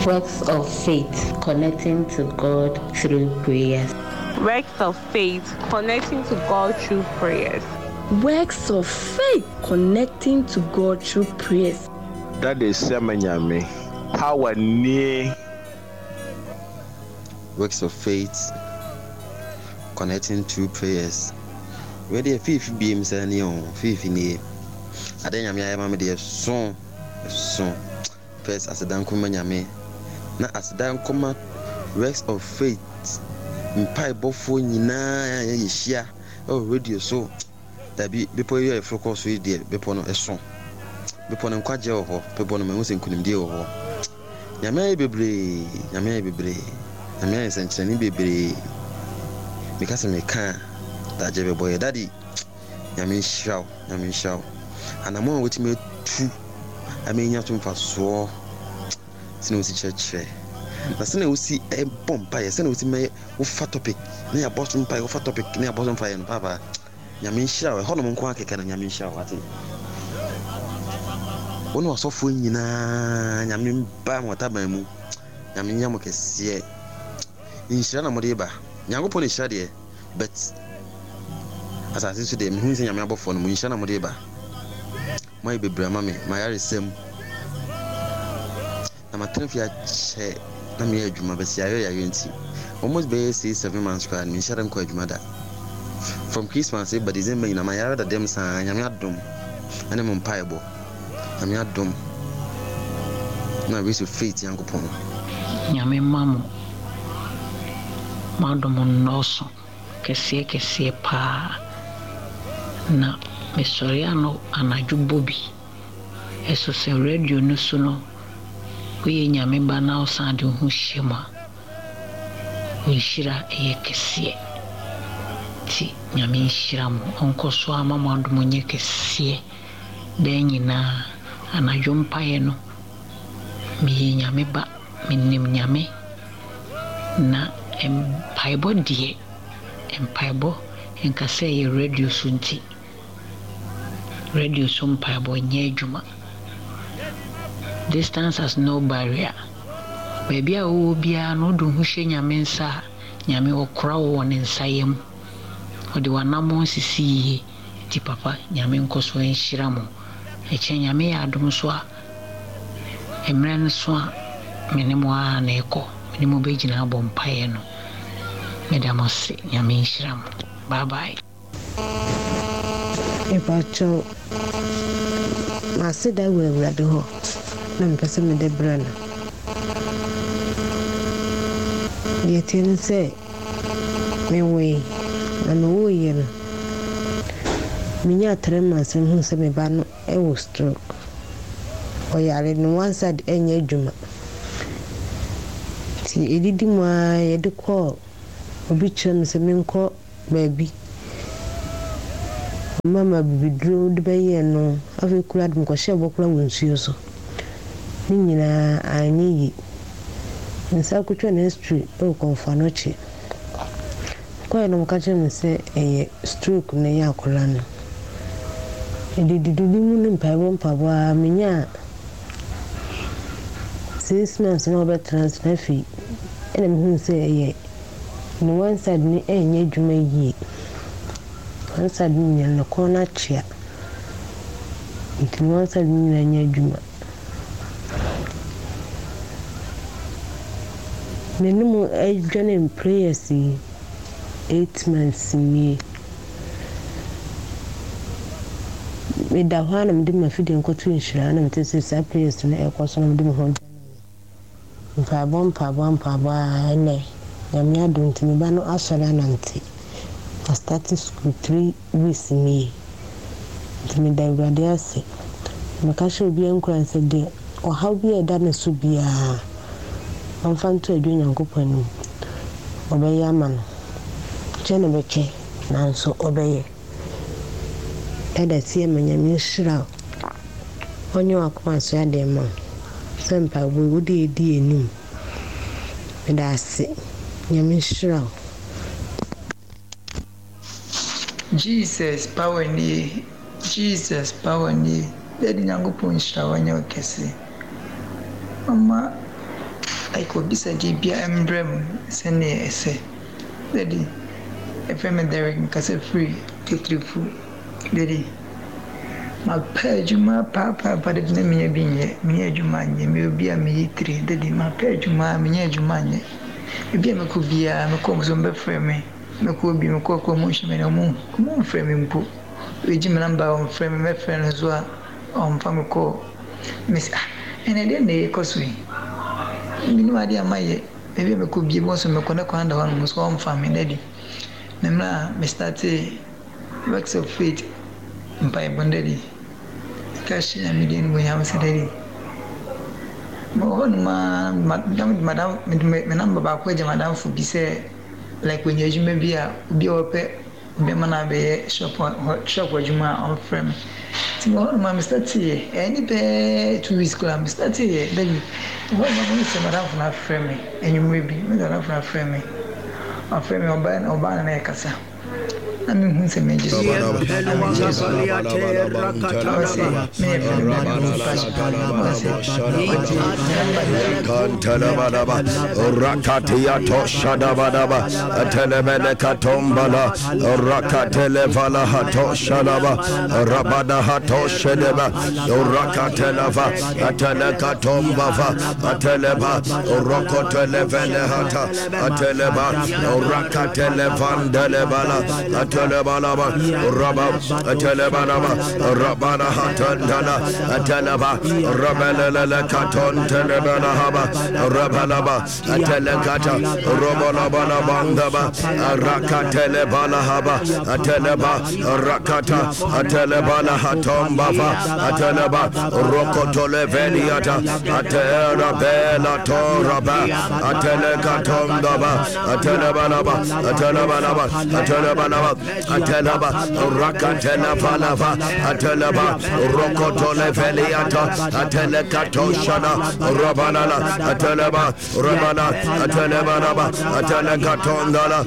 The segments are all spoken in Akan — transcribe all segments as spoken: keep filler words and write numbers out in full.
Works of faith, connecting to God through prayers. Works of faith, connecting to God through prayers. Works of faith, connecting to God through prayers. That is Nyame. Power nie. Works of faith, connecting through prayers. Wei deɛ fiifi biem sɛ ne o fiifi nie. Ade Nyame ayɛ ma me deɛ so so. First, aseda nkɔma Nyame. Na aseda nkɔma Works of Faith mpaebɔfoɔ nyinaa yɛhyia ɛwɔ radio so. Dabi, bepɔ yi a yɛforo kɔ so yi deɛ, bepɔ no ɛso. Bepɔ no nkwagyeɛ wɔ hɔ. Bepɔ no mahu sɛ nkonimdie wɔ hɔ. Nyame ayɛ bebree, Nyame ayɛ bebree. Nyame ayɛ nsɛnkyerɛnne bebree. Meka sɛ meka a, dagye bɛbɔ yɛ. Daddy, Nyame nhyira wo, Nyame nhyira wo. Anammɔn a wotumi atu ama nya so mfasoɔ, sɛnea wosi kyerɛkyerɛ na sɛnea wosi bɔ mpaeɛ, sɛnea wosi mɛyɛ wofa topic na yɛabɔ so mpaeɛ, wofa topic na yɛabɔ so mpaeɛ no, paapa, Nyame nhyira wo. Ɛhɔnom nko akeka no, Nyame nhyira wo. Ate wo ne wasɔfoɔ nyinaa, Nyame ba mo ataban mu, Nyame nya mo kɛseɛ. Nhyira na mode ba. Nyankopɔn na hyira deɛ, but asase so deɛ, mehu sɛ Nyame abɔfoɔ no mo nhyira na mode ba. Moayɛ bebree ama me. Mayaresɛm na matena fie akyɛ na meyɛ adwuma bɛsi ayɛ yare nti almost bɛyɛ six seven months koraa no, menhyɛ da nkɔ adwuma da. From Christmas ba December nyinaa mayare da dɛm saa. Nyame adom ɛne mo mpaebɔ, Nyame adom na Works of Faith, Nyankopɔn. Nyame mma mo mo adom nnɔɔso kɛseɛ kɛseɛ paa. Na mesɔre ano anadwo bɔ bi ɛso sɛ radio no so no, woyɛ Nyame ba na wosan de wo ho hyɛ mu a, wo nhyira ɛyɛ kɛseɛ. Nti Nyame nhyira mo, ɔnkɔ so ama mo adom nyɛ kɛseɛ daa nyinaa. Anadwo mpaeɛ no, meyɛ Nyame ba, menim Nyame, na mpaebɔ deɛ, mpaebɔ nka sɛ ɛyɛ radio so nti radio so mpaebɔ nyɛ adwuma. Distance has no barrier. Baabi a wowɔ biara no, wode wo ho hyɛ Nyame nsa a, Nyame ɔkora wo wɔ ne nsa yam. Ɔde w'anammɔn sisi yie. Nti papa, Nyame nkɔ so nhyira mo. Ɛkyɛ Nyame yɛ adom so a, mmerɛ no so a, me ne mo ara na ɛkɔ. Me ne mo bɛgyina abɔ mpaeɛ no. Meda mo ase. Nyame nhyira mo. Bye bye. Mepakyɛw, m'aseda wɔ Awurade hɔ na mepɛ sɛ mede brɛ no. Deɛ ɛteɛ ne sɛ, mewoe na mewoeɛ no, menyaa three months na mehuu sɛ me ba no wɔ stroke. Ɔyare no, one side ɛnyɛ adwuma. Nti ɛdidi mu ara, yɛde kɔɔ obi kyerɛ me sɛ menkɔ baabi. Ɔma bibiduro de bɛyɛɛ no. Afei koraa de mekɔhyɛɛ bɔ koraa wɔ nsuo so. Ne nyinaa anyɛ yie. Nsa kotwa no x-ray wɔ Komfo Anokye. Kɔɛ no, wɔka kyerɛ me sɛ ɛyɛ stroke na ɛyɛ akwadaa no. Ɛdidididi mu ne mpaebɔ mpaebɔ a, menyaa six months na wɔbɛtena ase na afei ɛna mehuu sɛ ɛyɛ ne one side no ɛnyɛ adwuma yie. One side no nyinaa ne kɔn no akyea. Nti ne one side no nyinaa nyɛ adwuma. Me ne mo adwane prayers yi eight months nie. Meda hɔ a na mede m'afidie nkɔto nhyira na mete sɛ saa prayers no ɛkɔ so na mede me ho dwane. Mpaebɔ mpaebɔ mpaebɔ a, ɛnɛ Nyame adom nti me ba no asɔre anante. Astart school three weeks nie. Nti meda Awurade ase. Meka hyɛ obiara nkuran sɛ deɛ ɔhaw bi a ɛda ne so biara, ɔmfa nto adwo Nyankopɔn anim. Ɔbɛyɛ ama no. Kyɛ na bɛkyɛ nanso ɔbɛyɛ. Ɛda sie ma Nyame nhyira wo. Ɔnyɛ w'akoma so adeɛ ma wo. Sɛ mpaebɔ yi wode edi anim. Meda ase. Nyame nhyira wo. Jesus power nie, Jesus power nie. Daddy, Nyankopɔn nhyira wo, nyɛ wo kɛse. Ɔma Like w'abisadeɛ biara mbrɛ mu sɛdeɛ ɛsɛ. Daddy, yɛfrɛ me Derek, mekasa firi Titirifu. Daddy, mapɛ adwuma paapaapa daddy na menya bi nyɛ. Menya adwuma nyɛ. Meyɛ obi a meyɛ tiri. Daddy, mapɛ adwuma menya adwuma nyɛ. Baabi a mɛkɔ biara, mekɔ wɔn so wɔbɛfrɛ me. Mɛkɔ bi, mekɔ kɔ wɔn nhwɛ me na wɔn wɔmfrɛ me mpo. Wɔgye me number a wɔmfrɛ me, mɛfrɛ no nso a ɔmfa me call. Mese ah, ɛnɛ deɛ na ɛrekɔ so yi? Menim adeɛ a mayɛ. Baabi a mɛkɔ biara, wɔn nso mekɔ ne kwan da hɔ nom so wɔmfa me daddy. Na mmerɛ a me startee Works of Faith mpaebɔ no daddy, meka hyɛ Nyame din animuonyam sɛ daddy, mewɔ hɔ nom ara na mede madam mede me number baako agya madamfo bi sɛ like onya adwuma bi a obi a ɔpɛ bɛma no abɛyɛ shop hɔ shop adwuma a ɔmfrɛ me. Nti mewɔ hɔ nom a me starteeɛ, ɛyɛ ne bɛyɛ two weeks koraa me starteeɛ daddy. Mewɔ hɔ nom a mehu sɛ madamfo no afrɛ me anwummerɛ bi, mehu sɛ madamfo no afrɛ me. Ɔfrɛ me ɔbaa ɔbaa na na yɛkasa. Na mehu sɛ megye so. Na megye so. Ɔse meyɛ frɛ me ɔse ɔgye Kantalabadaba, Rakatiato Shadabadaba, Atelebelekatombala, Rakatelevala Hato Shadaba, Rabada Hato Shedeba, Rakatelava, Atelekatombava, Ateleba, Rokotelevele Hata, Ateleba, Rakatelevandelebala, Atelebalaba, Rabba, Atelebalaba, Rabada Hatandala, Ateleba, Rabelele Katon Telebala Haba, Rabalaba, Atelekata, Robolabala Bandaba, Rakatelebala Haba, Ateleba, Rakata, Atelebala Hatombava, Ateleba, Rokotoleveliata, Atera Bela Toraba, Atelekatondaba, Atelebalaba, Atelebalaba, Atelebalaba, Ateleba, Rakatelevalava, Ateleba, Rokotoleveliata, Atelekatoshana, Rabalala, Ateleba, Rabala, Atelebalaba, Atelekatondala,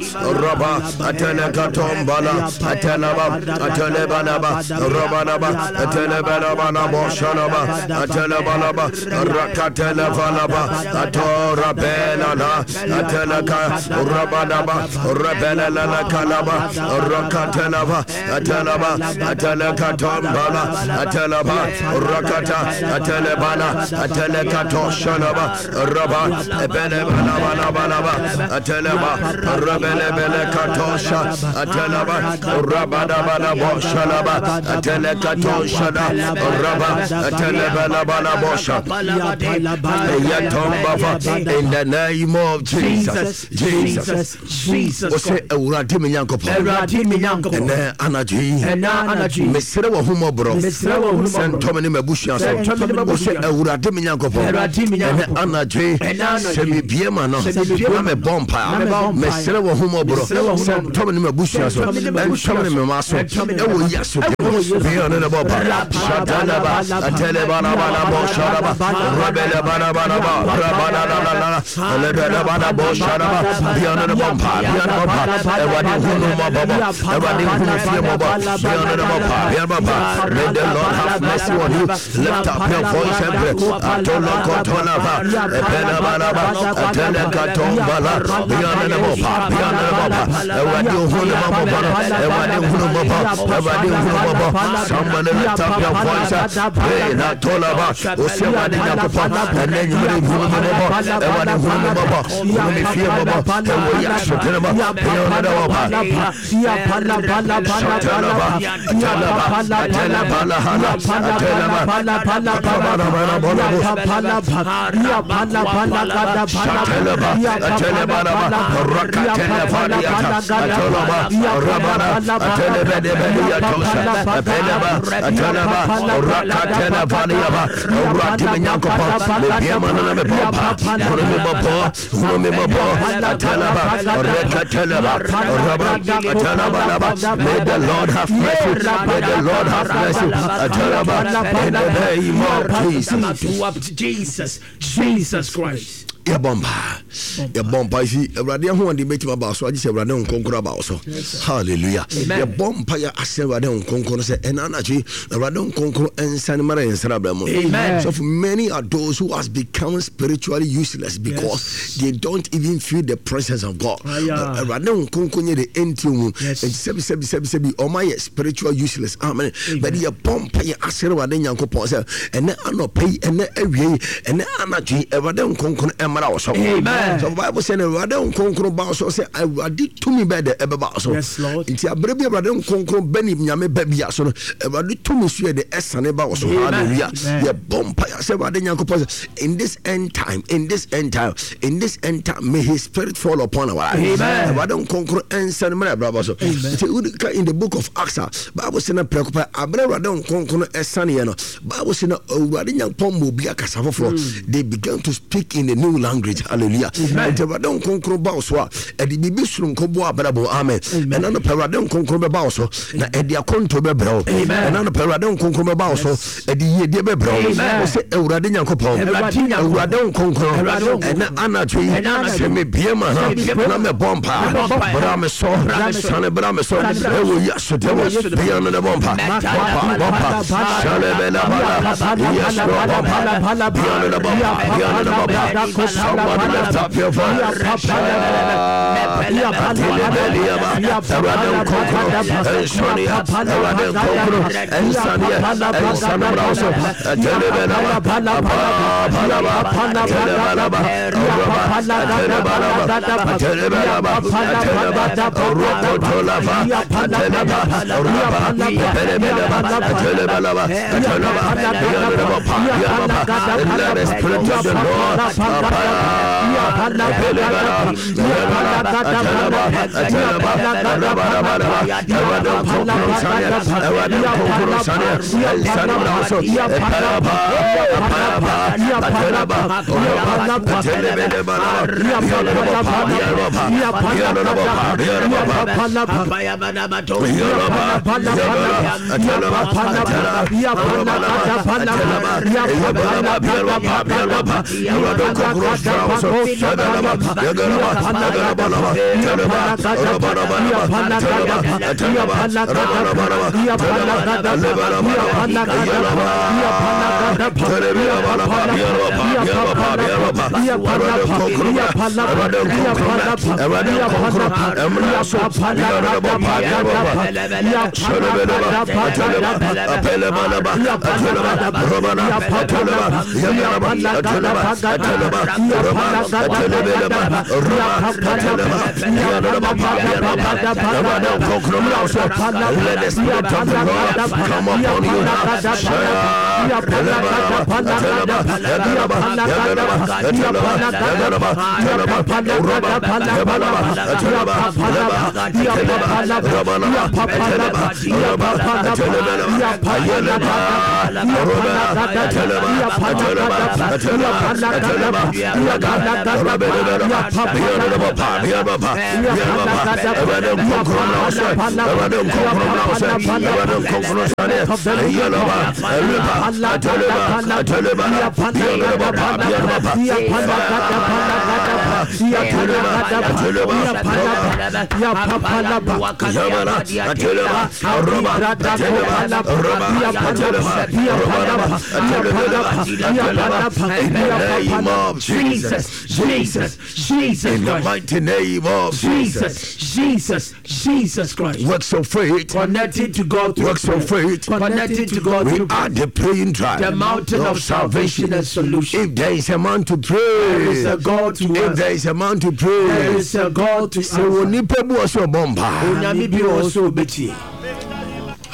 Raba, Atelekatombala, Atelaba, Atelebalaba, Rabalaba, Atelebalaba, Boshalaba, Atelebalaba, Rakatelevalaba, Atora Belala, Ateleka, Rabalaba, Rebelala Kalaba, Rakatelava, Atelaba, Atelekatombala, Atelaba, Rakata, Atelebala, Atelekatoshalaba, Raba, Ebelebalabalaba, Ateleba, Rebelebele Katosha, Atelaba, Rabadabala Boshalaba, Atelekatoshada, Raba, Atelebala Bosha, Yatombafa, in the name of Jesus, Jesus, Jesus. Ose Awurade me Nyankopɔn. Awurade me Nyankopɔn. Ɛnɛ anadwo yi. Ɛnɛ anadwo yi. Mesrɛ wɔ ahummɔborɔ. Mesrɛ wɔ ahummɔborɔ. Sɛ ntɔ me ne m'abusua so. Sɛ ntɔ me ne m'abusua Ose so. Awurade me Nyankopɔn. Awurade me Ɛnɛ Nyankopɔn. anadwo yi. Ɛnɛ anadwo Sɛ yi. mebue m'ano. Sɛ mebue Na m'ano. mebɔ mpaeɛ. Na mebɔ mpaeɛ. Mesrɛ wɔ ahummɔborɔ. Mesrɛ wɔ Sɛ ahummɔborɔ. ntɔ me ne m'abusua so. Sɛ ntɔ me ne m'abusua Ɛntɔ me ne so. me mma so. Ɛntɔ me ne me Ɛwɔ mma so. Yesu Ɛwɔ din mu. Yesu Bia ne ne bɔ mpa. Shatalaba, Atelebalabala Shalaba, Rebelebalaba, Rabalala, Lebelebala Shalaba, Bia ne ne bɔ mpa. Bia ne bɔ mpa. Awurade hunu mmɔbɔ. Awurade hunu fie mmɔbɔ. Bia ne ne bɔ mpa. Bia ne bɔ mpa. May the Lord have mercy on you. Lift up your voice and pray. Atolokotolava, Epelebalaba, Atelekatombala, Bia ne ne bɔ mpa. Bia ne ne bɔ mpa. Awurade hunu mmɔbɔ. Awurade hunu mmɔbɔ. Awurade hunu mmɔbɔ. Somebody lift up your voice. Pray na tolaba. Ose Awurade Nyankopɔn. Ɛnɛ anwummere hunu me mmɔbɔ. Awurade hunu me mmɔbɔ. Hunu me fie mmɔbɔ. Ɛwɔ Yesu din mu. Bia ne ne bɔ mpa. Shatalaba, Atelaba, Atelebala Hala, Ateleba, Shateleba, Atelebalaba, Rakatelefaliata, Atolaba, Rabana, Atelebedebediatosa, Apeleba, Ateleba, Rakatelefaliaba, Awurade me Nyankopɔn, mebue m'ano na mebɔ mpa. Hunu me mmɔbɔ, hunu me mmɔbɔ, Ateleba, Rekateleba, Raba, Atelebalaba. May the Lord have mercy. May the Lord have mercy. Ateleba, in the name of Jesus. Jesus, Jesus Christ. Yɛbɔ mpa. Yɛbɔ mpa si Awurade ahoɔden bɛtumi aba so agye sɛ Awurade nkonkron aba so. Hallelujah. Yɛbɔ mpa yɛ asɛ Awurade nkonkron sɛ ɛna anadwo yi Awurade nkonkron nsane mara yɛn nsra brɛ mu. So for many are those who has become spiritually useless because yes. they don't even feel the presence of God. Awurade nkonkron nyɛ de ɛnti mu. Nti sɛbi sɛbi sɛbi sɛbi ɔma yɛ spiritual useless. Amen. But yɛbɔ mpa yɛ asɛ Awurade Nyankopɔn sɛ ɛnɛ anɔpa yi ɛnɛ awie yi ɛnɛ anadwo yi Awurade nkonkron ɛmmra wo so. Amen. So Bible sɛ Awurade nkonkron ba so sɛ Awurade tumi bɛ dɛ ɛbɛba so. Nti abere bi Awurade nkonkron bɛ ne Nyame bɛ bia so no Awurade tumi so yɛ de ɛsane ba wo so. Hallelujah. Yɛbɔ mpa yɛ sɛ Awurade Nyankopɔn sɛ in this end time, in this end time, in this end time, may his spirit fall upon our lives. Awurade nkonkron ɛnsane mmerɛ ɛbraba so. Nti wodi in the book of Acts, Bible sɛ na prɛko pɛ abere Awurade nkonkron ɛsane yɛ no Bible sɛ na Awurade Nyankopɔn ma obi akasa foforɔ. They began to speak in a new language. Hallelujah. Nti Awurade nkonkron ba wo so a ɛde biribi soronko boa abrabɔ. Amen. Ɛna no pɛ Awurade nkonkron bɛba wo so na ɛde akɔnto bɛbrɛ wo. Ɛna no pɛ Awurade nkonkron bɛba wo so ɛde yiedie bɛbrɛ wo. Wo sɛ Awurade Nyankopɔn, Awurade nkonkron ɛna anadwo yi sɛ mebie ma ha na mɛbɔ mpa bra me so sane bra me so ɛwɔ yi asodɛm bia no ne bɔ mpa bɔ mpa bɔ mpa sane bɛna bala yes Lord bɔ mpa bia no ne bɔ mpa bia no ne bɔ mpa. Somebody lift up your voice. Awurade nkonkron ɛnsɔneɛ Awurade nkonkron ɛnsaneɛ ɛnsane bra wo so ɛtɛlebɛnaba apapalaba ɛtɛlɛbalaba ɔrɔba ɛtɛlɛbalaba ɛtɛlɛbalaba ɛtɛlɛba ɔrɔkɔtɔlaba ɛtɛlɛba ɔrɔba ɛtɛlɛbɛlaba ɛtɛlɛbalaba ɛtɛlɛba bianɔlɛbɔpa bianɔpa. Let the spirit of the Lord Let the spirit of the Lord come upon you. In the name of Jesus, Jesus, Jesus, in the mighty name of Jesus, Jesus, Jesus Christ. Works of faith, connected to God. Works of faith, connected to God. We are the praying tribe, the mountain of salvation and solution. If there is a man to pray, there is a God to. If there is a man to pray, there is a God to. So onipa bu oso bomba. Onyame bi oso obetie.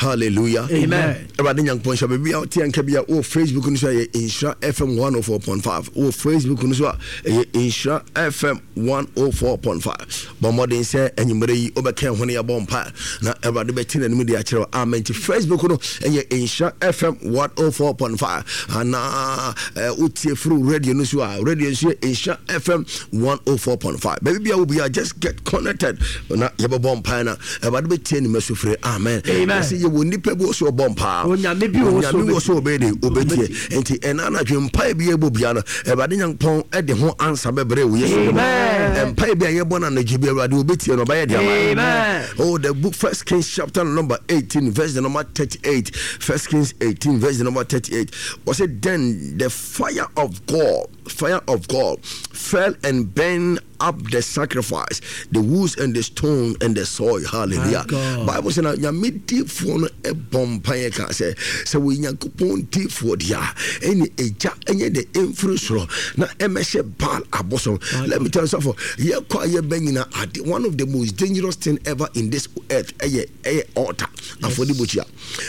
Hallelujah. Amen. Awurade Nyankopɔn hyɛ baabi a wote anka bi a wɔ Facebook no so a ɛyɛ Nhyira F M one oh four point five. Wɔ Facebook no so a ɛyɛ Nhyira F M one oh four point five. Bɔ mmɔden sɛ anwummerɛ yi wobɛka ho no yɛbɔ mpa na Awurade bɛte n'anim de akyerɛ wo. Amen. Nti Facebook no ɛyɛ Nhyira F M one oh four point five. Anaa wotie firi radio no so a radio nso yɛ Nhyira F M one oh four point five. Baabi bia wo bia just get connected na yɛbɛbɔ mpa na Awurade bɛtie ne mɛsofrɛ. Amen. Amen. yɛwɔ nnipa bi wɔ so ɔbɔ mpaa Onyame bi wɔ so Onyame wɔ so ɔbɛyɛ de ɔbɛtie. Nti ɛna anadwo mpae bi yɛbɔ bia no, Awurade Nyankopɔn ɛde ho ansa bɛbrɛ wo Yesu din mu. Amen. Mpae bi a yɛbɔ no anadwo bi, Awurade ɔbɛtie no, ɔbɛyɛ de ama. Amen. Oh, the book First Kings chapter number eighteen, verse the number thirty-eight. First Kings eighteen, verse the number thirty-eight. Was it then the fire of God, fire of God fell and burned up the sacrifice, the woods and the stone and the soil. Hallelujah. My God. Bible says na Nyame difoɔ no ɛbɔ mpaeɛ ka sɛ sɛ wɔ Nyankopɔn difoɔ deɛ a, ɛne egya ɛnyɛ de ɛmfiri soro na ɛmɛhyɛ Baal abosom. Let me tell you something. Yɛkɔ a yɛbɛ nyina ade, one of the most dangerous thing ever in this earth ɛyɛ ɛyɛ altar. Afɔrebukyia.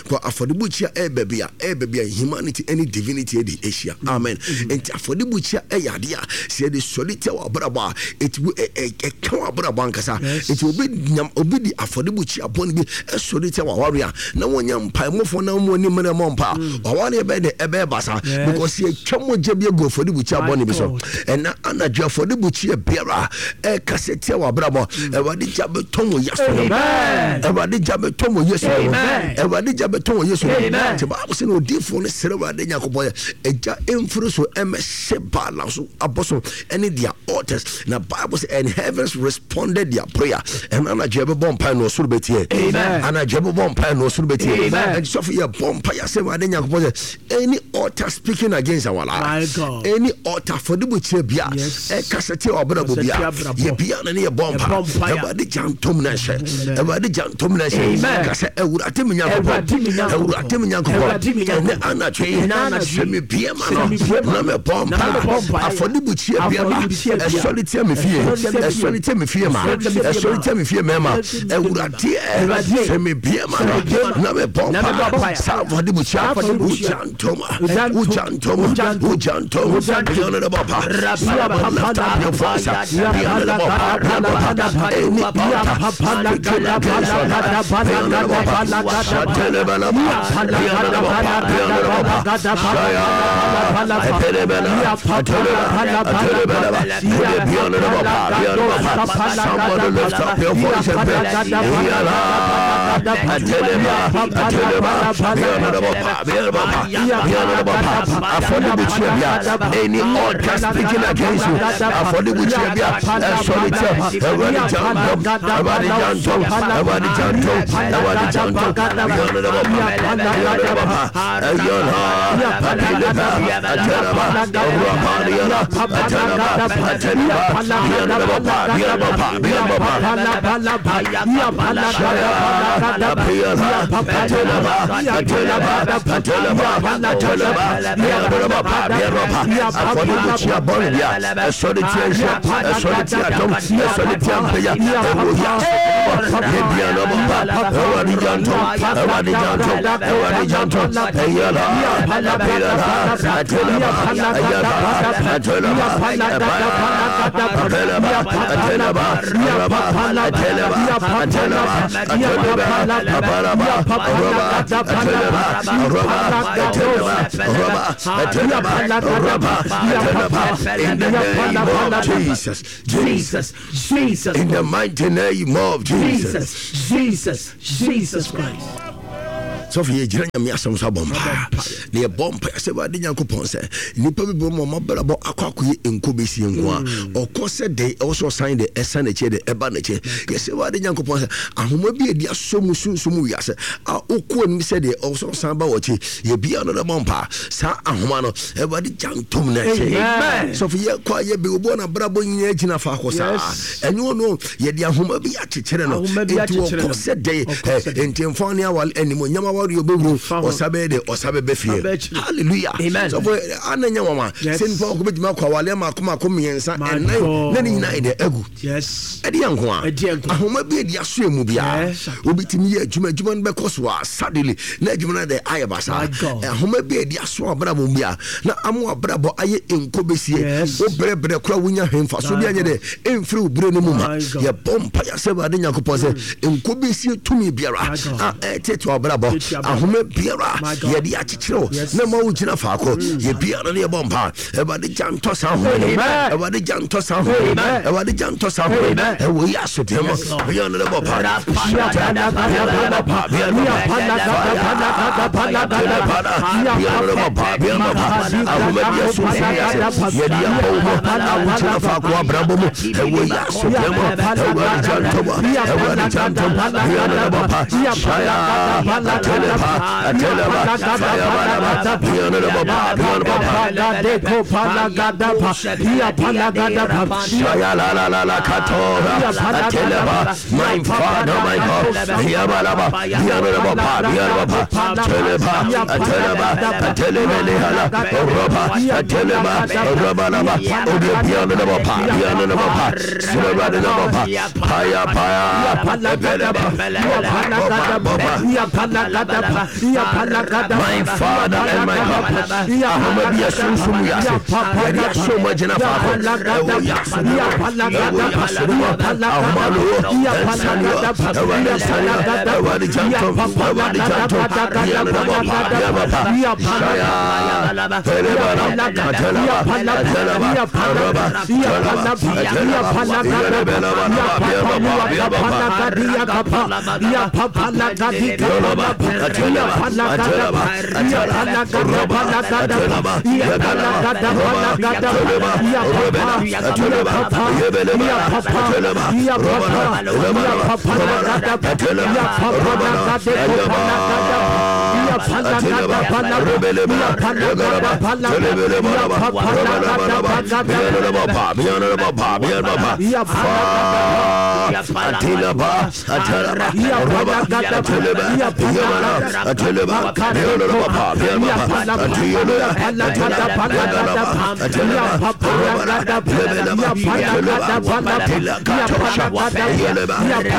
Kɔ afɔrebukyia ɛyɛ baabi a ɛyɛ baabi a humanity ɛne divinity ɛde ahyia. Amen. Nti afɔrebukyia ɛyɛ adeɛ a sɛ yɛde sɔre tia wɔ abrabɔ a, ɛti ɛ ɛ ɛka wɔ abrabɔ ankasa. Yes. Nti obi nyam obi di afɔrebukyia bɔne bi ɛsɔre tia wɔ aware a, na wɔnyɛ mpaemɔfoɔ na wɔn anim na ɛmɔ mpa. Aware bɛyɛ dɛ ɛbɛyɛ basa. Yes. Because yɛtwa mogya bi agu afɔrebukyia My bɔne bi so. God. Ɛna anadwo afɔrebukyia biara ɛkasa tia wɔ abrabɔ, Awurade gya bɛtɔ wɔ Yesu din mu. Amen. Awurade gya bɛtɔ wɔ Yesu din mu. Amen. Awurade gya bɛtɔ wɔ Yesu din mu. Amen. Nti Bible sɛ na odiyifoɔ no srɛ Awurade Nyankopɔn yɛ agya ɛmfiri so ɛmɛhyɛ Baal so abɔso ɛne their altars. Na Bible sɛ and heavens responded their prayer. Ɛna anadwo yɛbɛbɔ mpae na ɔsoro bɛtie. Amen. Anadwo yɛbɛbɔ mpae na ɔsoro bɛtie. Amen. Ɛnti sɔfo yɛbɔ mpae asɛ Awurade Nyankopɔn sɛ any altar speaking against our life, My God. any altar afɔrebukyia bia Yes. ɛkasa tia w'abrabɔ Ɛkasa bia, tia abrabɔ. yɛbia na ne yɛbɔ mpa. Yɛbɔ mpaeɛ. Awurade gya ntom na nhyɛ. Awurade gya ntom na nhyɛ. Amen. Ka sɛ Awurade me Nyankopɔn, Awurade me Nyankopɔn. Awurade me Nyankopɔn, Awurade me Nyankopɔn. ɛnɛ anadwo yi, Ɛnɛ anadwo yi, sɛ mebie ma sɛ no mebie ma na no, mebɔ na mpa, mebɔ mpaeɛ. afɔrebukyia biara Afɔrebukyia biara. ɛsɔre tia me fie, Ɛsɔre tia me fie. ɛsɔre tia me fie ma, Ɛsɔre tia me fie ma. ɛsɔre tia me fie mmarima, Ɛsɔre tia me fie Awurade Awurade, sɛ mebie ma sɛ no mebie ma no, na mebɔ na mebɔ mpa, mpaeɛ. saa afɔrebukyia, Saa afɔrebukyia. wogya ntom, Wogya ntom. wogya ntom, Wogya ntom. wogya ntom, Wogya ntom. Beyond the bɔpa. Somebody lift up your voice. Beyond the bɔpa, beyond the bɔpa. Any altar speaking against your life. Beyond the bɔpa. Shatelebeleba. Beyond the bɔpa, beyond the bɔpa. Shaya. Atelebela. Ateleba. Atelebeleba. Beyond the bɔpa, beyond the bɔpa. Somebody lift up your voice and pray. Yala. Ateleba. Ateleba. Beyond the bɔpa, beyond the bɔpa. Beyond the bɔpa. Afɔrebukyia bia, any altar speaking against you, afɔrebukyia bia, ɛsɔre tia, Awurade gya ntom, Awurade gya ntom, Awurade gya ntom, Awurade gya ntom. Beyond the bɔpa, beyond the bɔpa. Ɛyɔnha, Ateleba, Ateleba, Ɔwurapadiana, Ateleba, Ateleba, beyond the bɔpa, beyond the bɔpa, beyond the bɔpa. Shaya, Apiyana, Ateleba, Ateleba, Ateleba, Ateleba, beyond the bɔpa, beyond the bɔpa. Afɔrebukyia bɔne bia, ɛsɔre tia nhyɛ, ɛsɔre tia dɔm, ɛsɔre tia mpagya, ɛwɔ wiase. Yɛbia no bɔpa, Awurade gya ntom, Awurade gya ntom, Awurade gya ntom. Ɛyɛla, Apiyana, Ateleba, Ɛyɛla, Ateleba, Ɛbaya, Apeleba, Ateleba, Araba, Ateleba, Ateleba, Ateleba, Abaraba, Araba, Ateleba, Araba, Ateleba, Araba, Ateleba, Araba, Ateleba. In the name of Jesus, Jesus, Jesus, in the mighty name of Jesus. Jesus, Jesus, Jesus Christ. Sɔfo yɛgyina Nyame asɛm so abɔ mpaa na yɛbɔ mpa sɛ Awurade Nyankopɔn sɛ nnipa bi bɔ ma ɔmabrabɔ akɔ akɔyɛ nko bɛsie nko a ɔkɔ sɛ de ɛwɔ sɛ ɔsan de ɛsan n'akyi de ɛba n'akyi. Yɛsɛ Awurade Nyankopɔn sɛ ahoma bi adi asɔ mu sunsum wiase a wokɔ anim sɛ deɛ ɛwɔ sɛ ɔsan ba wɔkyi, yɛbia no dɛbɔ mpa saa ahoma no, Awurade gya ntom no akyi. Amen. Sɔfo yɛkɔ a yɛbɛ obi ɔna abrabɔ nyinaa gyina faakɔ saa. Yes. Ɛnyɛ ɔno yɛde ahoma bi akyekyere no Ahoma bi nti akyekyere ɔkɔ no. sɛ dɛn Ɔkɔ sɛ dɛn. nti mfa ne awale animonyam aware ɔbɛwuro Ɔfa ho. ɔsa bɛyɛ de ɔsa bɛbɛ fie. Ɔbɛ akyiri. Hallelujah. Amen. Sɔfo ana nya wama Yes. sɛ nipa ɔkɔ bɛtumi akɔ awale maako maako mmiɛnsa My ɛnan God. na ne nyinaa yɛ dɛ agu. Yes. Ɛde yɛ nko a Ɛde yɛ nko a. ahoma bi adi aso mu biara Yes. obi tumi yɛ adwuma, adwuma no bɛkɔ so a suddenly na adwuma no de ayɛ basaa. My God. Ahoma bi adi aso abrabɔ mu bia na amo abrabɔ ayɛ nko bɛsie. Yes. Wo brɛbrɛ kora wonya hwɛ mfa so My bi anyɛ dɛ ɛmfiri wo berɛ no mu ma. My God. Yɛbɔ mpa yɛ sɛ Awurade Nyankopɔn sɛ nko bɛsie tumi biara My God. a ɛtete abrabɔ Tete Ahoma biara yɛde akyekyere wo na ma wogyina faako, yɛbiara ne yɛbɔ mpa. Awurade gya ntɔ saa ahoma no. Awurade gya ntɔ saa ahoma no. Awurade gya ntɔ saa ahoma no. Ɛwɔ yi asodɛm bia no bɔ pa. Ahoma bi asomsumi ase yɛde abɔ wo mu a wogyina faako abrabɔ mu. Ɛwɔ yi asodɛm Awurade gya ntɔ mu. Awurade gya ntɔ mu bia no bɔ pa. Shaya atelepa ateleba fire balaba bia no bɔ pa bia no bɔ pa. Shaya la la la la katora ateleba. My Father, my God, Yabalaba, Yabalaba, Yabalaba, Teleba, Ateleba, Atelebelehala, Roba, Ateleba, Robalaba, Obianaba, Bianaba, Surabanaba, Paya Paya, Ebeleba, My Father and my God, Ahomabia Sunsum Yase, Yadi so much in a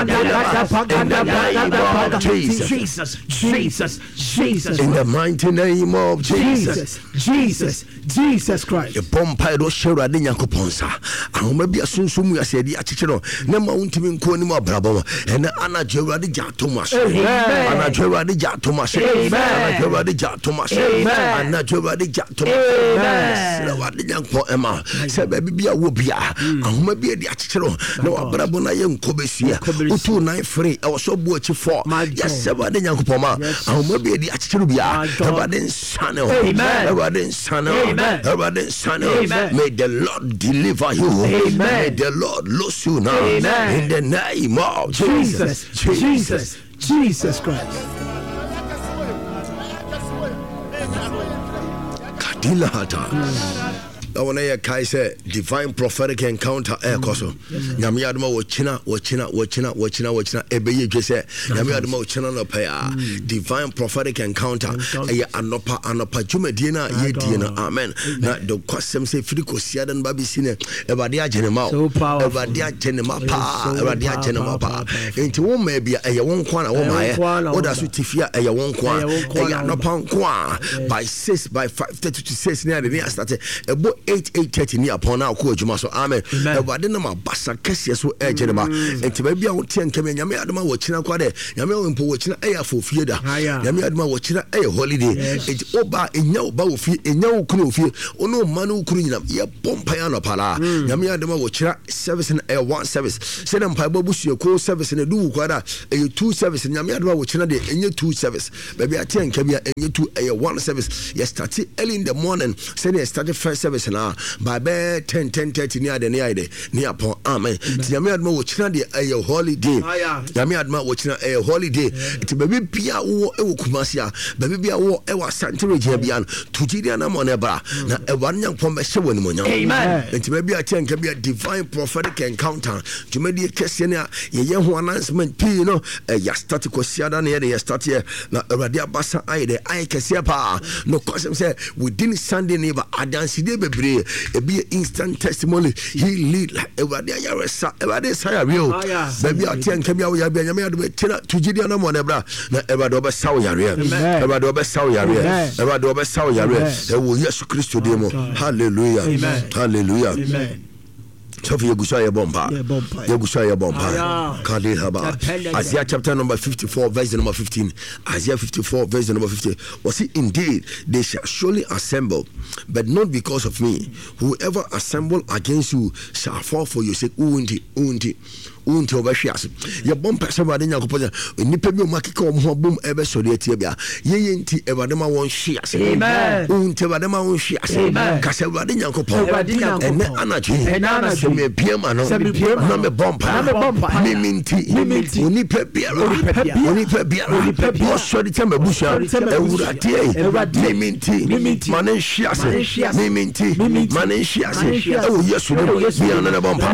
In the name of Jesus. Jesus, Jesus, Jesus. In the mighty name of Jesus. Jesus, Jesus, Jesus Christ. Yɛbɔ mpaeɛ de ɔhyɛ Awurade Nyankopɔn nsa. Ahoma bi asonsom mu ase yɛde akyekyere no na ma wontumi nkɔ anim abrabɔ mu. Ɛnɛ anadwo Awurade gya atom ase. Anadwo Awurade gya atom ase. Anadwo Awurade gya atom ase. Anadwo Awurade gya atom ase. Yɛsrɛ Awurade Nyankopɔn ɛma sɛ baabi bi a wɔ bia ahoma bi adi akyekyere no na wabrabɔ no ayɛ nkɔ bɛsia. Wotu nan fere ɛwɔ sɛ ɔbo akyi fɔ. Yɛsrɛ Awurade Nyankopɔn ma ahoma bi adi akyekyere bia Awurade nsane hɔ. Awurade nsane hɔ. Awurade nsane hɔ. May the Lord deliver you. Amen. May the Lord loose you now. Amen. In the name of Jesus. Jesus, Jesus, Jesus Christ. Kadila Hata. Na wɔn yɛ kae sɛ divine prophetic encounter ɛɛkɔ so. Nyame adoma wɔkyina wɔkyina wɔkyina wɔkyina wɔkyina ɛbɛyɛ dwe sɛ Nyame adoma wɔkyina nɔpɛ a divine prophetic encounter ɛyɛ anɔpa anɔpa dwumadie no a yɛdie no. Amen. Na dɔkwasɛm sɛ firi kɔsia da no ba bɛsi no Awurade agye ne ma o. So powerful. Awurade agye ne ma paa. So Awurade agye ne ma paa. powerful, powerful. Nti wo mmaa bi a ɛyɛ wo nko a na wo Ɛyɛ wo maayɛ. nko ara na wo Woda so ma. te fie a ɛyɛ wo nko a. Ɛyɛ wo nko ara Ɛyɛ na wo anɔpa nko a by six by five thirty to six ne ade ne asate ɛbɔ eight eight thirty ne apɔn na akɔ adwuma so. Amen. Amen. Awurade nam abasa kɛseɛ so ɛregye ne ba. Nti baabi a woteɛ nkɛmɛ Nyame adom a wɔkyina kɔ dɛ Nyame a mpo wɔkyina ɛyɛ afɔfie da. Aya. Nyame adom a wɔkyina ɛyɛ holiday. Yes. Nti woba ɛnya wo ba wɔ fie ɛnya wo kunu wɔ fie wo ne wo mma ne wo kunu nyinam yɛbɔ mpaeɛ anɔpa laa. Nyame adom a wɔkyina service no ɛyɛ one service. Sɛdeɛ mpaebɔ abusuakuo service no ɛdu wo kɔ da ɛyɛ two service. Nyame adom a wɔkyina deɛ ɛnyɛ two service. Baabi a teɛ nka bi a ɛnyɛ two ɛyɛ one service. Yɛ start early in the morning sɛdeɛ yɛ start first service na by bɛɛ ten ten thirty ne ade ne ayɛ dɛ ne apɔn. Amen. Nti Nyame adom a wɔkyina deɛ ɛyɛ holiday. Aya. Nyame adom a wɔkyina ɛyɛ holiday. Nti baabi bia wowɔ ɛwɔ Kumasi a baabi bia wowɔ ɛwɔ Asante region bia no to gyidi anamɔ ne bra na Awurade Nyankopɔn bɛhyɛ wɔ animuonyam. Amen. Nti baabi a teɛ nka bi a divine prophetic encounter dwumadie kɛseɛ ne a yɛyɛ ho announcement pii no ɛyɛ start kɔsiada ne yɛde yɛ start yɛ na Awurade abasa ayɛ dɛ ayɛ kɛseɛ paa. No kɔsɛm sɛ within Sunday ne ba adansedie bebree ebi yɛ instant testimony he lead Awurade ayaresa Awurade sa yareɛ o. Aya. Baabi a teɛ nka bi a woyare bi a Nyame adom ɛtena to gyidi anamɔ ne bra na Awurade ɔbɛsa wo yareɛ. Amen. Awurade ɔbɛsa wo yareɛ. Amen. Awurade ɔbɛsa wo yareɛ Amen. ɛwɔ Yesu Kristo din mu. Hallelujah. Amen. Hallelujah. Amen. Sɔfo yɛgu so a yɛbɔ mpa yɛgu so a yɛbɔ mpa kade haba Isaiah chapter number fifty-four verse number fifteen. Isaiah fifty-four verse number fifteen. Was it indeed they shall surely assemble, but not because of me. Whoever assemble against you shall fall for your sake. Wunti wunti wunti ɔbɛhwe ase. Yɛbɔ mpa sɛ Awurade Nyankopɔn sɛ nnipa bi a wɔn akeka wɔn ho abom ɛbɛsɔre atia bia yɛyɛ nti Awurade ma wɔn hwe ase. Wunti Awurade ma wɔn hwe ase. Kasa Awurade Nyankopɔn ɛnɛ anadwo yi sɛ mebie ma no na mebɔ mpa mimi nti onipa biara onipa biara ɔsɔre tia m'abusua Awurade mimi nti ma ne nhwe ase mimi nti ma ne nhwe ase ɛwɔ Yesu din mu bia no ne bɔ mpa.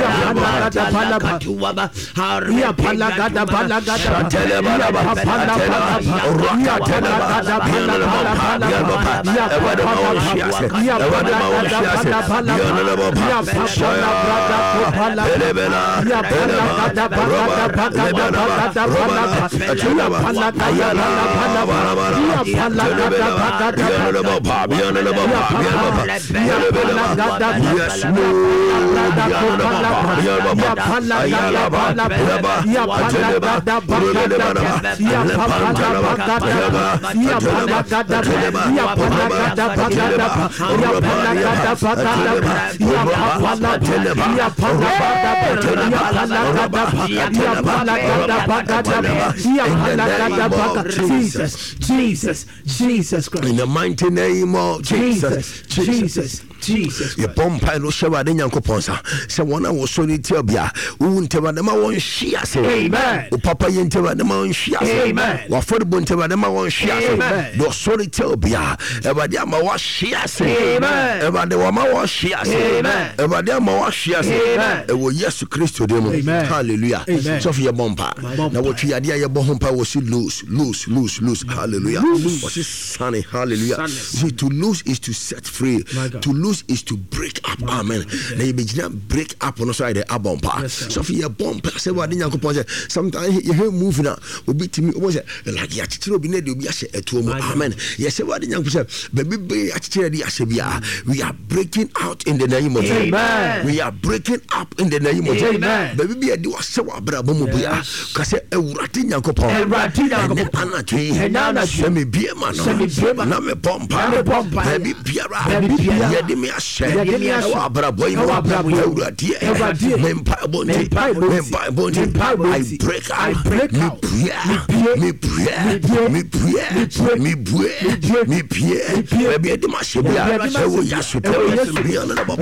Jesus, Jesus, Jesus Christ. In the mighty name of Jesus, Jesus, Jesus. Your bomb pile no Nyankopɔn sa sɛ wɔn a wɔsɔre tia bia wowu ntɛm a ma wɔn hwe ase. Amen. Wo papa yɛ ntɛm a ma wɔn hwe ase. Amen. Wafɔrebɔ ntɛm a ma wɔn hwe ase. Amen. Deɛ ɔsɔre tia bia Awurade ama wɔahwe ase. Amen. Awurade wɔma wɔhwe ase. Amen. Awurade ama wɔahwe ase. Amen. Ɛwɔ Yesu Kristo din mu. Amen. Hallelujah. Amen. Sɔfo yɛbɔ mpa na wɔtwe yadeɛ a yɛbɔ ho mpa wɔ si loose loose loose loose. Hallelujah. Wɔsi sane. Hallelujah. See, to lose is to set free. To lose is to break up. Amen. Na yɛbɛgyina break up no so ayɛ dɛ abɔ mpa. Sɔfo yɛbɔ mpa sɛ Awurade Nyankopɔn sɛ sometimes yɛhwɛ movie na obi tumi wobɔ sɛ like yɛakyekyere obi na de obi ahyɛ ɛtoɔ mu. Amen. Yɛsɛ Awurade Nyankopɔn sɛ baabi bɛyɛ yɛakyekyere de ahyɛ biara, we are breaking out in the name of Jesus. Amen. We are breaking up in the name of Jesus. Amen. Baabi bi yɛde wahyɛ wɔ abrabɔ mu bia ka sɛ Awurade Nyankopɔn Awurade Nyankopɔn ɛnɛ anadwo yi ɛnɛ anadwo yi sɛ mebie ma no sɛ mebie ma na mebɔ mpa na mebɔ mpa baabi biara baabi biara yɛde me ahyɛ yɛde me ahyɛ ɛwɔ abrabɔ yi mu ɛwɔ abrabɔ yi mu Awurade Awurade me mpaebɔ me nti mpaebɔ me nti mpaebɔ nti me mpaebɔ I nti break I out break out mepue mepue mepue mepue mepue mebue mepue mepue baabi yɛde me ahyɛ bia baabi yɛde me ahyɛ ɛwɔ bia Yesu ɛwɔ Yesu bia no na bɔ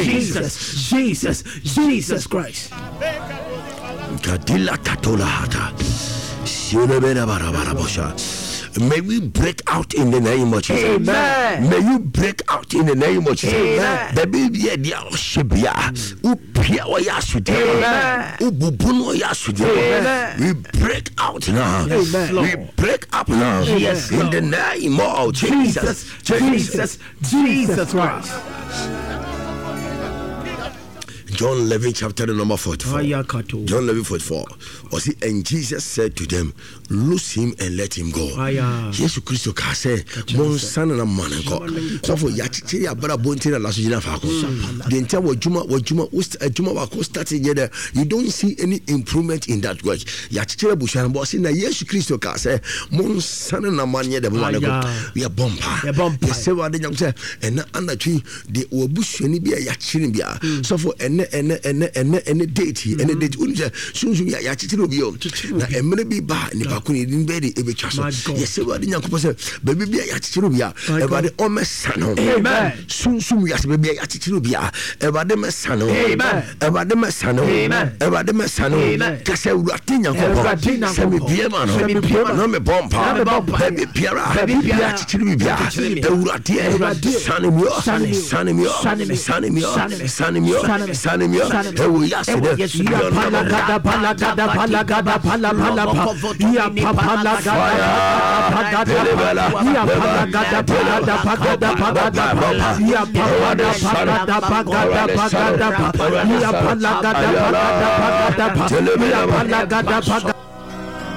Jesus, Jesus, Jesus Christ. Kadila katola hata. May we break out in the name of Jesus. Amen. May you break out in the name of Jesus. Amen. Baby, yeah, dia oshebia. Upia wa yasude. Amen. Ububu no yasude. Amen. We break out now. Amen. We break up now. Yes, In the name of Jesus. Jesus, Jesus, Jesus Christ. John eleven, chapter number forty-four. Ayakato. John eleven forty-four. Or see, and Jesus said to them, "Loose him and let him go." Aya. Yesu Kristo ka sɛ, "Monsane na mma no nkɔ." Sɔfo, yɛakyekyere abara bonti na laso gyina faako. Deɛ nti a w'adwuma, w'adwuma, wo st- adwuma baako start yɛ dɛ, you don't see any improvement in that work. Yɛakyekyere abusua no bɔ, ɔse, na Yesu Kristo ka sɛ, "Monsane na mma no nyɛ dɛ, momma no nkɔ." Aya. Yɛbɔ mpa. Yɛbɔ mpa. Yɛsɛ Awurade Nyankopɔn sɛ, ɛnɛ anadwo yi, deɛ w'abusuani bi a yɛakyere no biara, sɔfo, ɛnɛ, ɛnɛ, ɛnɛ, ɛnɛ, ɛnɛ date yi, ɛnɛ date yi, wonim sɛ, sunsum yɛ, yɛakyekyere obi o. Na mmerɛ bi ba a, nipa ko no, yɛde no bɛyɛ de ɛbɛtwa so. My God. Yɛsɛ Awurade Nyankopɔn sɛ, baabi bi a yɛakyekyere obi a, My God. Awurade ɔmmɛsa no. Amen. Sunsum wiase, baabi a yɛakyekyere obi a, Awurade mmɛsa no. Amen. Awurade mmɛsa no. Amen. Awurade mmɛsa no. Amen. Ka sɛ, Awurade Nyankopɔn, Awurade sɛ Nyankopɔn, mebue ma no, sɛ mebue ma no, na mebɔ mpa. na mebɔ mpa. Baabi biara, Baabi biara, yɛakyekyere me biara, yɛakyekyere me. Awurade, Awurade, sane me o, sane me o, sane me o, sane me, sane me o, sane me, sane me o, sane me, sane me o. sane me. Ɛwɔ Yesu Ɛwɔ dɛ. Yesu dɛ.